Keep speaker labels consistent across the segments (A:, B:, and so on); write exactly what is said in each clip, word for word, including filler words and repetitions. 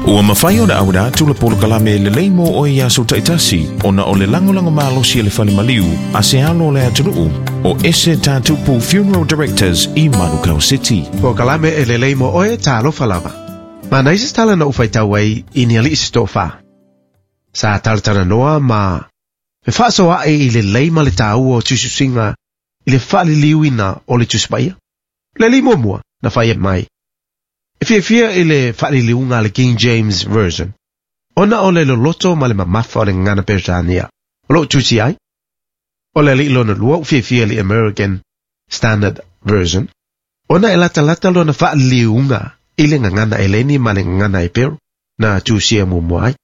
A: Ua mafai ona auina atu le polokalame lelei mo oe i aso taitasi ona o le lagolago malosi e le fale maliu a se alo o le atunuu o Ese Tatupu Funeral Directors i Manukau City.
B: Polokalame e lelei mo oe talofa lava. Manaia se tala na ou faitau ai i ni alii se toafa. Sa talatalanoa ma fefaasoaai i le lelei ma le taua o tusitusiga i le faaliliuina o le Tusi Paia. Le alii muamua na fai mai. E fiafia i le faaliliuga a le King James Version, ona o le loloto ma le mamafa o le gagana Peretania o lo o tusi ai. O le alii lona lua ua fiafia i le American Standard Version, ona e latalata lona faaliliuga i le gagana Eleni ma le gagana Eperu na tusia muamua ai.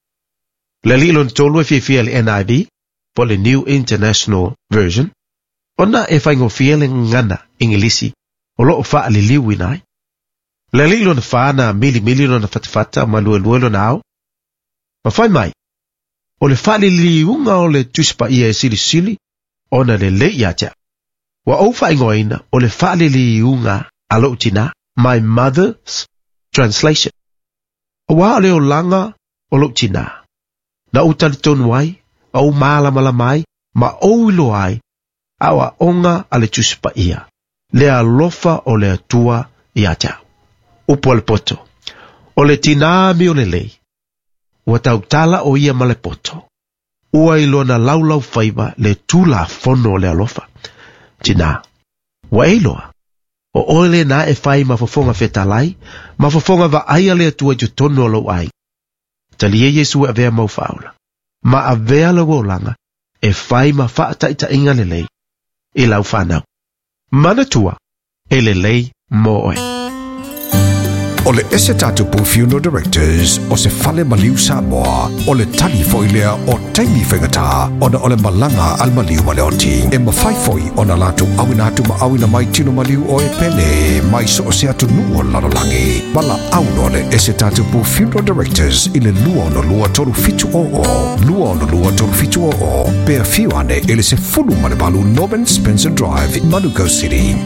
B: Le alii lona tolu e fiafia i le N I V, po o le New International Version, ona e faigofie le gagana Igilisi o lo o faaliliuina ai. Le alii lona fa na milimili lona fatafata ma luelue lona ao. Ma fai mai, o le faaliliuga o le Tusi Paia e silisili ona lelei ia te au. Ua ou faaigoaina o le faaliliuga a lou tinā, my mother's translation. Auā o le olaga o lou tinā, na ou talitonu ai, ma ou malamalama ai, ma ou iloa ai, aoaoga a le Tusi Paia, le alofa o le Atua ia te au. Upu a le poto, o le tinā amio lelei, ua tautala o ia ma le poto, ua i lona laulau faiva le tulafono o le alofa. Tinā, ua e iloa, o oe lenā e fai ma fofoga fetalai, ma fofoga vaai a le Atua i totonu o lou aiga. Talia Iesu e avea mau faaola, ma avea lau olaga e fai ma faataitaiga lelei i lau fanau. Manatua, e lelei mo oe.
C: O le Ese Tatupu Funeral Directors o se fale maliu Samoa o le tali foi lea o taimi faigata ona o le malaga a le maliu ma le oti. E mafai foi ona latou auina atu ma auina mai tino maliu o e pele mai so o se atunuu o le lalolagi. Valaau loa le Ese Tatupu Funeral Directors i le lua ono lua tolu fitu o o, lua ono lua tolu fitu o o, pe afio ane i le sefulu ma le valu Norman Spencer Drive, Manukau City.